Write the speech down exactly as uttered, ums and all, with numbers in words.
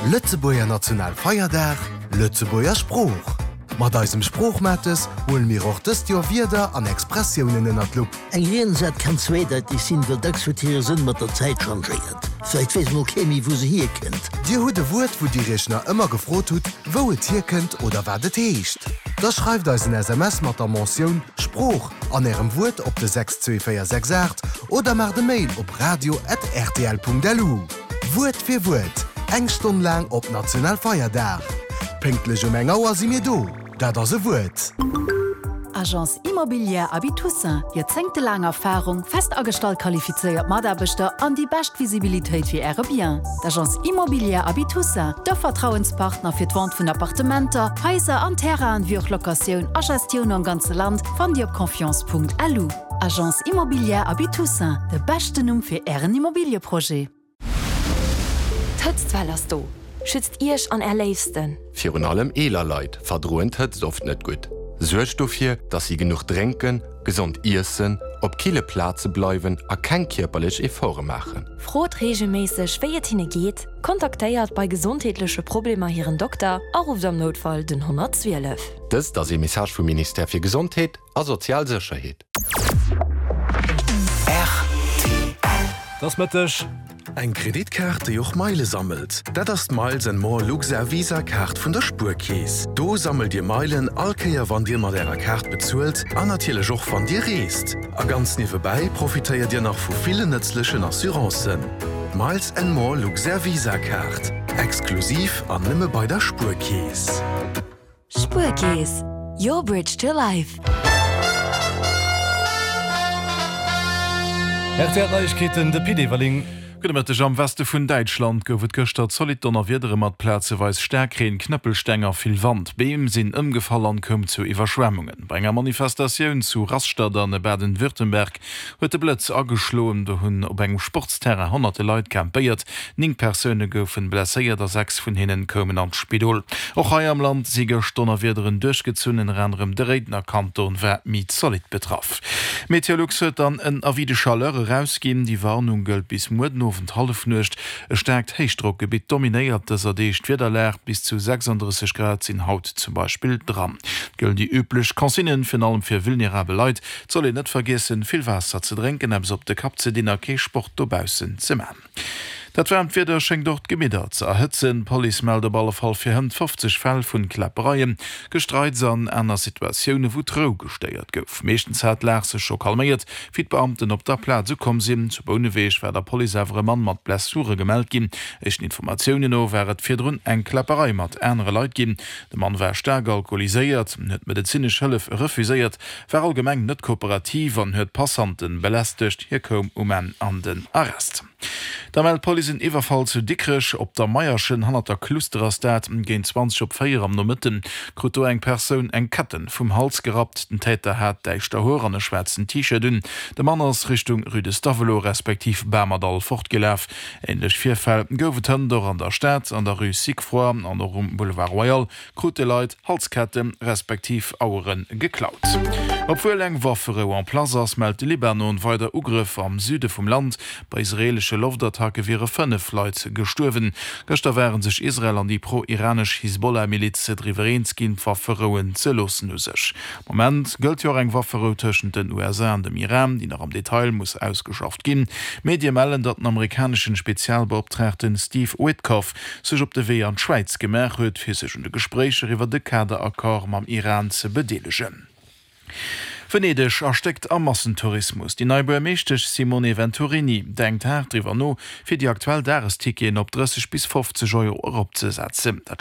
Lëtzebuerger Nationalfeierdag, Lëtzebuerger Sprooch. Mat eisem Sproochmates huele mir och dëst Joer Wierder an Expressiounen ënnert d'Lupp. Eng Riensat kann zweedeiteg sinn, well dacks huet hire Sënn mat der Zäit changéiert. Vläicht weess mol kee méi, wou se hierkënnt. Dir hutt e Wuert, wou Dir Iech nach ëmmer gefrot hutt, wou et hierkënnt oder wat et heescht. Da schreift eis en S M S mat der Mentioun Sprooch an Ärem Wuert op de sechs zwee véier sechs aacht oder maacht e Mail op radio at R T L Punkt L U. Wuert fir Wuert, eng Stonn laang op Nationalfeierdag. Pénktlech um eng Auer si mir do. Dat ass e Wuert. Agence Immobilière Abi Toussaint, joerzéngtelaang Erfarung, fest agestallt qualifizéiert Mataarbechter an déi bescht Visibilitéit fir Äre Bien. D'Agence Immobilière Abi Toussaint, de Vertrauenspartner fir d'Vente vun Appartementer, Haiser an Terrainen, wéi och Locatioun a Gestioun am ganze Land, fannt Dir op confiance Punkt L U. Agence Immobilière Abi Toussaint, de beschten Numm fir Ären Immobilieprojet. D'Hëtztwell ass do. Schützt Iech an är Léifsten. Virun allem eeler Leit verdroen d'Hëtzt oft net gutt. Suergt dofir, dass si genuch drénken, gesond iessen, op kille Plaze bleiwen a keng kierperlech Efforte maachen. Frot reegelméisseg, wéi et hinne geet, kontaktéiert bei gesondheetleche Problemer hiren Dokter a rufft am Noutfall den honnertzwielef. Dëst ass e Message vum Ministère fir Gesondheet a sozial Sécherheet. Et ass Mëtteg. Eng Kreditkaart, déi och Meile sammelt. Dat ass d'Miles and More Luxair Visa Kaart vun der Spuerkeess. Do sammelt Dir Meilen all Kéier wann Dir mat Ärer Kaart bezuelt an natierlech och wann Dir reest. A ganz niewebäi profitéiert Dir nach vu villen nëtzlechen Assurancen. Miles and More Luxair Visa Kaart. Exklusiv an nëmme bei der Spuerkeess. Spuerkeess. Your bridge to life. R T L Neiegkeeten, de Pit Everling. Gudde Mëtteg. Am Weste vun Däitschland gouf et gëschter zolidd Donnerwiedere mat plazeweis Staarkreen, Knëppelsteng a vill Wand. Beem sinn ëmgefall an koum zu Iwwerschwemmungen. Bei enger Manifestatioun zu Rastatt an Baden-Württemberg huet de Blëtz ageschloen. Do hunn op engem Sportsterrain honnerte Leit campéiert. Néng Persoune goufe blesséiert a sechs vun hinnen koumen an d'Spidol. Och hei am Land si gëscht Donnerwiederen duerchgezunn, ënner anerem de Réidener Kanton war méi zolidd betraff. Meteolux huet dann en Avis de chaleur erausginn. Déi Warnung gëllt bis muer den Owend Hallefnuecht. E staarkt Héichdrockgebitt dominéiert dëser Deeg d'Wiederlag. Bis zu sechsanddrësseg Grad sinn haut zum Beispill dran. Et gëllen déi üblech Consignen, virun allem fir vulnerabel Leit. Et soll een net vergiessen, vill Waasser ze drénken, eppes op de Kapp ze dinn a kee Sport dobaussen ze man. Dat waarmt Wieder schéngt och d'Gemidder ze erhëtzen. D'Police mellt op alle Fall fir hënt fofzeg Fäll vun Kläppereien, Gestreits an aner Situatioune wou d'Rou gestéiert gouf. Meeschtens hat d'Lag sech scho calméiert, wéi d'Beamten op der Plaz ukomm sinn. Zu Bouneweg war der Police awer e Mann mat Blessure gemellt ginn. Éischten Informatiounen no war et virdrun eng Kläpperei mat anere Leit ginn. De Mann war staark alkoholiséiert, huet medezinesch Hëllef refuséiert, war allgemeng net kooperativ an huet Passanten belästegt. Hie koum um Enn an den Arrest. Da mellt d'Police en Iwwerfall zu Dikrech op der Meierschen, hannert der Kluster ass dat. Géint zwanzeg op véier am Nomëtten krut do eng Persoun eng Ketten vum Hals gerappt. Den Täter hat däischter Hoer an e schwaarzen T-Shirt un. De Mann ass Richtung Rue de Stavelot respektiv Bamerdall fortgelaf. Änlech Virfäll gouf et hënt och an der Stad, an der Rue Sigfroy an och um Boulevard Royal krute Leit Halsketten respektiv Auere geklaut. Obwuel eng Wafferou en place ass, mellt de Libanon weider Ugrëff am Süde vum Land. Bei israeelesche Loftattacke wiere fënnef Leit gestuerwen. Gëschter ware sech Israel an déi pro-iranesch Hisbollah-Miliz driwwer eens ginn, d'Wafferouen ze loossen u sech. Am Moment gëllt jo och eng Wafferou tëschent den U S A an dem Iran, déi nach am Detail muss ausgeschafft ginn. Medie mellen, datt den amerikaneschen Spezialbeoptraagten Steve Witkoff sech op de Wee an d'Schwäiz gemaach huet, fir sech un de Gespréicher iwwer de Kaderaccord mam Iran ze bedeelegen. Venedeg erstéckt am Massentourismus. Déi nei Buergermeeschtesch Simone Venturini denkt haart driwwer no, fir déi aktuell Dagesticketen op drësseg bis fofzeg Euro eropzesetzen. Dat